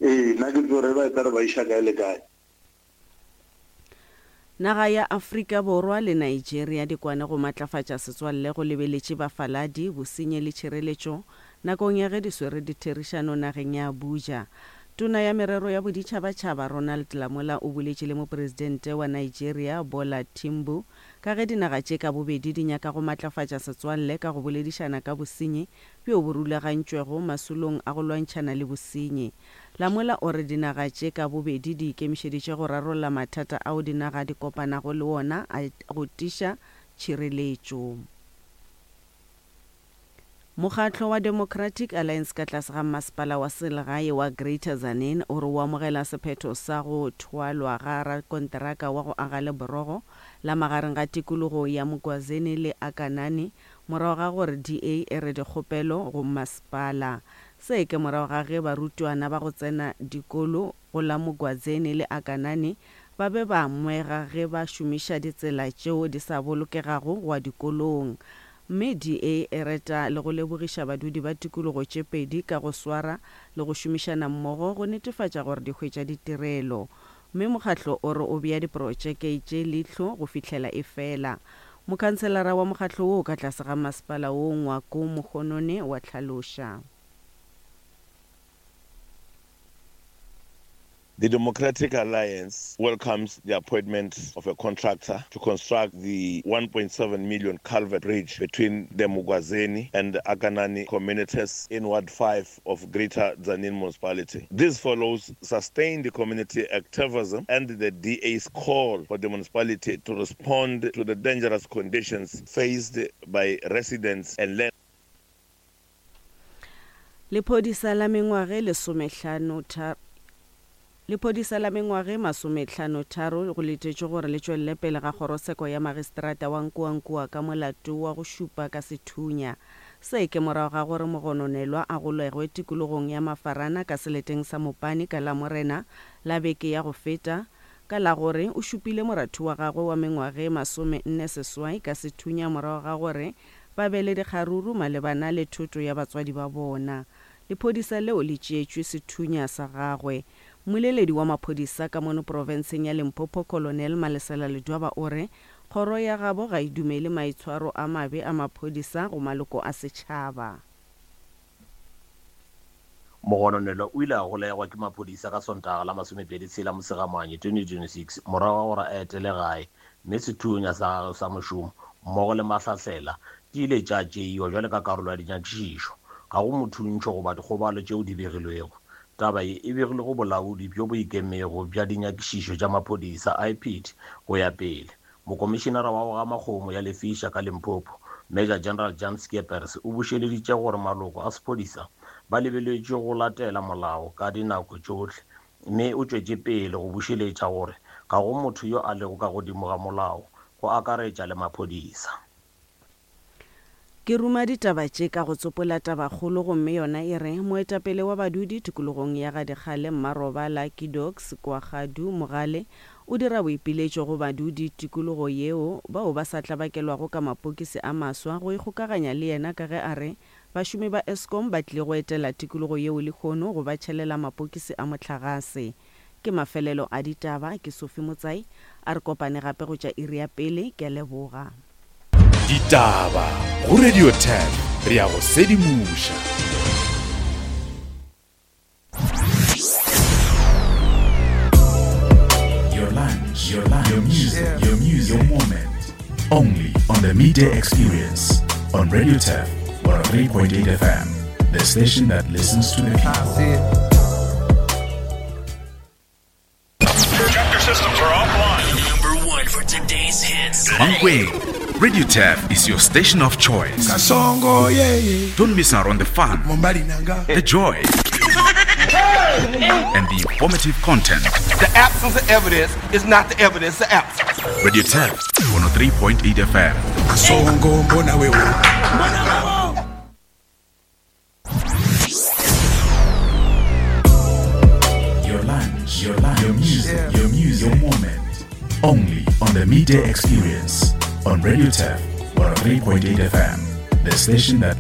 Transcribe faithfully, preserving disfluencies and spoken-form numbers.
Ee, nna ke tsore ba e tla re ba iša kae le kae. Naga ya Afrika Borwa le Nigeria di kwane go matlafatša setswalle go lebeletše bafaladi, bosenyi le tšhireletšo nakong ya ge di swere ditherišano nageng ya Abuja. Tona ya Merero ya Boditšhabatšhaba Ronald Lamola o boletše le Mopresidente wa Nigeria Bola Timbu ka ge dinaga tše ka bobedi di nyaka go matlafatša setswalle ka go boledišana ka bosenyi bjo bo rulagantšwego masolong a go lwantšhana le bosenyi. Lamola o re dinaga tše ka bobedi di ikemišeditše go rarolla mathata ao dinaga di kopanago le wona a go tiša tšhireletšo. Mokgatlo wa Democratic Alliance ka tlase ga Mmasepala wa Selegae wa Greater Tzaneen o re o amogela sephetho sa go thwalwa ga rakonteraka wa go aga leborogo la magareng ga tikologo ya Mgwazeni le Akanani morago ga gore D A e re dikgopelo go mmasepala. Se ke morago ga ge barutwana ba go tsena dikolo go la Mgwazeni le Akanani ba be ba ngwega ge ba šomiša ditsela tšeo di sa bolokegago go ya dikolong. Mme D A e reta le go lebogiša badudi ba tikologo tše pedi ka go swara le go šomišana mmogo go netefatša gore di hwetša ditirelo. Mme mokgatlo o re o bea diprotšeke tše leihlo go fihlela e fela. Mokhanselara wa mokgatlo woo ka tlase ga masepala wo Ngwako Mogonone wa hlaloša. The Democratic Alliance welcomes the appointment of a contractor to construct the one point seven million culvert bridge between the Mgwazeni and the Akanani communities in Ward five of Greater Tzaneen Municipality. This follows sustained community activism and the D A's call for the municipality to respond to the dangerous conditions faced by residents and land. Lephodisa la mengwage lesomehlano tharo Lephodisa la mengwage masomehlano tharo go letetšwe gore le tšwelele pele ga kgorotsheko ya magistrata wa Nkoankoa ka molato wa go šupa ka sethunya. Se ke morago ga gore mogononelwa a golegwe tikologong ya Mafarana ka seleteng sa Mopani ka Lamorena la beke ya go feta ka la gore o šupile moratho wa gagwe wa mengwage masome nne seswai ka sethunya morago ga gore ba be le dikgaruru malebana le thoto ya batswadi ba bona. Lephodisa leo le tšeetšwe sethunya sa gagwe. Mmoleledi wa maphodisa ka mono profenseng ya Limpopo Colonel Malesela Ledwaba o re kgoro ya gabo ga e dumele maitshwaro a mabe a maphodisa go maloko a setšhaba. Mogononelwa o ile a golegwa ke maphodisa ka Sontaga la masomepedi tshela Mosegamanye twenty twenty-six morago ga gore a etele gae mme sethunya sa gagwe sa mošomo mmogo le mahlahlela di ile tša tšeiwa bjalo ka karolo ya dinyakišišo. Ga go mothuntšho goba dikgobalo tšeo di begilwego. Taba ye e begilwe go bolaodi bjo bo ikemego bja dinyakišišo tša maphodisa I P D go ya pele. Mokomišenara wa go gama kgomo ya Lefisha ka Limpopo, Major General Jan Skeepers o bušeleditše gore maloko a sephodisa ba lebeletšwe go latela molao ka dinako tšohle, mme o tšwetše pele go bušeletša gore ga go motho yo a lego ka godimo ga molao, go akaretša le maphodisa. Ke ruma ditaba tše ka go tsopola tabakgolo gomme yona e re moetapele wa badudi tikologong ya Gadikgale Mmarobala Kidox Kwagadu Mogale o dira boipiletšo go badudi tikologo yeo bao ba sa tlabakelwago ka mapokisi a maswa go ikgokaganya le yena ka ge a re bašomi ba Eskom ba tlile go etela tikologo yeo lehono go ba tšhelela mapokisi a mohlagase. Ke mafelelo a ditaba, ke Sophie Motsai, a re kopane gape go tša iri ya pele, ke a leboga. Ditaba go Radio ten, re ya go sedimoša. Your lunch, your lunch, your music, your music, your moment. Only on the Midday Experience on Radio Turf one oh three point eight F M, the station that listens to the people. Chapter systems are offline. Number one for today's hits. Mankweng. Radio Turf is your station of choice. Kasongo, yeah, yeah. Don't miss out on the fun, Mombali nanga. the joy, and the informative content. The absence of evidence is not the evidence of absence. Radio Turf one oh three point eight F M. Kasongo, mbona wewe. Your lunch, your lunch, your music, your music, your moment. Only on the Midday Experience on Radio Turf one oh three point eight F M, the station that